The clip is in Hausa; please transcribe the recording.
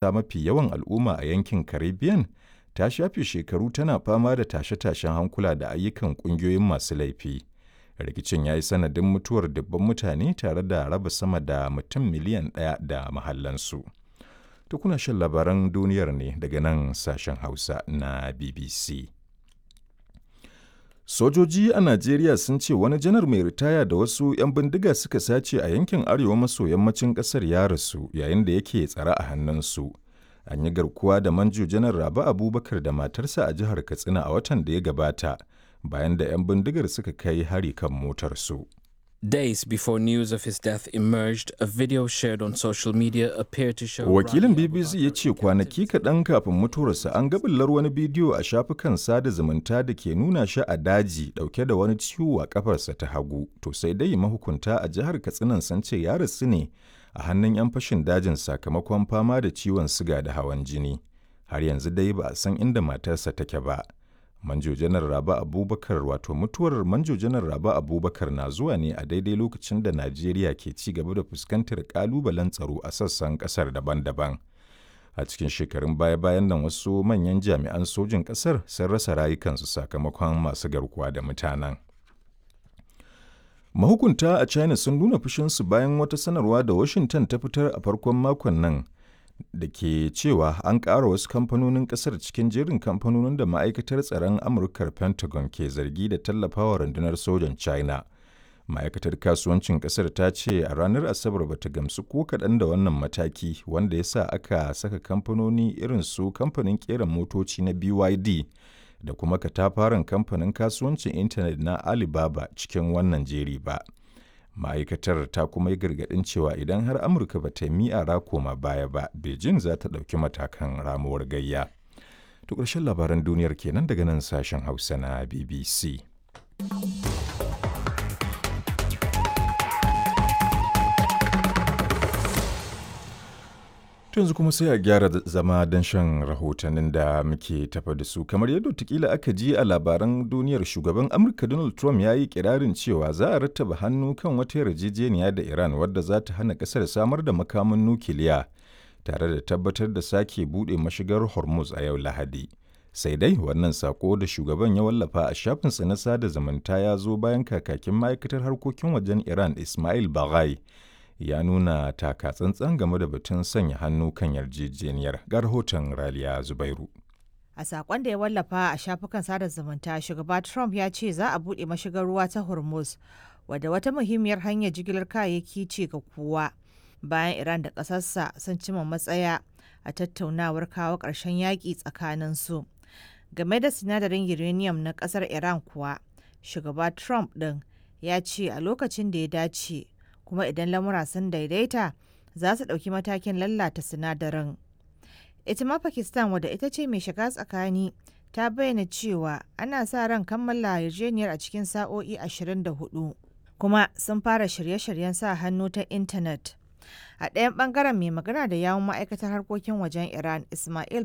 Mafi yawan al'umma a yankin Caribbean, ta shafe shekaru tana fama da tashe-tashen hankula da ayyukan ƙungiyoyin masu laifi. Rikicin ya yi sanadin mutuwar dubban mutane tare da raba sama da mutum miliyan ɗaya da mahallansu. To kuna shan labaran duniyar ne daga nan sashen Hausa na BBC. Sojoji a Najeriya sun ce wani janar mai ritaya da wasu 'yan bindiga suka sace a yankin arewa maso yammacin ƙasar ya rasu yayin da yake tsare a hannunsu. An yi garkuwa da Manjo Janar Rabe Abubakar da matarsa a jihar Katsina a watan da ya gabata bayan da 'yan bindigar suka kai hari kan motarsu. Days before news of his death emerged, a video shared on social media appeared to show Wakilin BBC ya ce kwanaki kaɗan kafin mutuwarsa an ga ɓullar wani bidiyo a shafukan sada zumunta da ke nuna shi a daji ɗauke da wani ciwo a ƙafarsa ta hagu. To sai dai mahukunta a jihar Katsinan sun ce ya rasu ne a hannun 'yan fashin dajin sakamakon fama da ciwon siga da hawan jini. Har yanzu dai ba a san inda matarsa take ba. Manjo Janar Rabe Abubakar wato mutuwar Manjo Janar Rabe Abubakar na zuwa ne a daidai lokacin da Najeriya ke ci gaba da fuskantar kalubalen tsaro a sassan kasar daban-daban. A cikin shekarun baya-bayan nan wasu manyan jami'an sojin kasar sun rasa rayukansu sakamakon masu garkuwa da mutanen. Mahukunta a China sun nuna fushinsu bayan wata sanarwa da Washington ta fitar a farkon makon nan da ke cewa an ƙara wasu kamfanonin ƙasar cikin jerin kamfanonin da ma'aikatar tsaron Amurkar Pentagon ke zargi da tallafawa rundunar sojan China. Ma'aikatar kasuwancin ƙasar ta ce a ranar Asabar bata gamsu ko kaɗan da wannan mataki wanda ya sa aka saka kamfanoni irin su kamfanin ƙera motoci na BYD da kuma katafaren kamfanin kasuwancin intanet na Alibaba cikin wannan jeri ba. Ma'aikatar ta kuma yi gargaɗin cewa idan har Amurka ba ta yi mi'ara koma baya ba, Beijing za ta ɗauki matakan ramuwar gayya. To ƙarshen labaran duniyar kenan daga nan sashen Hausa na BBC. Yanzu kuma sai a gyara zama don shan rahotannin da muke tafa da su. Kamar yadda watakila aka ji a labaran duniyar, shugaban Amurka Donald Trump ya yi kirarin cewa za a rattaba hannu kan wata yarjejeniya da Iran wadda za ta hana kasar samar da makamin nukiliya tare da tabbatar da sake buɗe mashigar Hormuz a yau Lahadi. Sai dai wannan sako da shugaban ya wallafa a shafinsa na sada zumunta ya zo bayan kakakin ma'aikatar harkokin wajen Iran Ismail Baghai ya nuna taka tsantsan game da batun sanya hannu kan yarjejeniyar. Ga rahoton Raliya Zubairu. A sakon da ya wallafa a shafukan sada zumunta, shugaba Trump ya ce za a buɗe mashigar ruwa ta Hormuz, wadda wata muhimmiyar hanyar jigilar kayayyaki ce ga kowa. Bayan Iran da ƙasarsa sun cima matsaya a tattaunawar kawo ƙarshen yaƙi tsakanin su. Game da sinadarin uranium na ƙasar Iran kuwa, shugaba Trump ɗin ya ce a lokacin da ya dace kuma idan lamura sun daidaita za su ɗauki matakin lalata sinadarin. Ita ma Pakistan, wadda ita ce mai shiga tsakani, ta bayyana cewa ana sa ran kammala yarjejeniyar a cikin sa'o'i 24 kuma sun fara shirye-shiryen sa hannu ta intanet. A ɗayan ɓangaren, mai magana da yawun ma'aikatar harkokin wajen Iran Ismail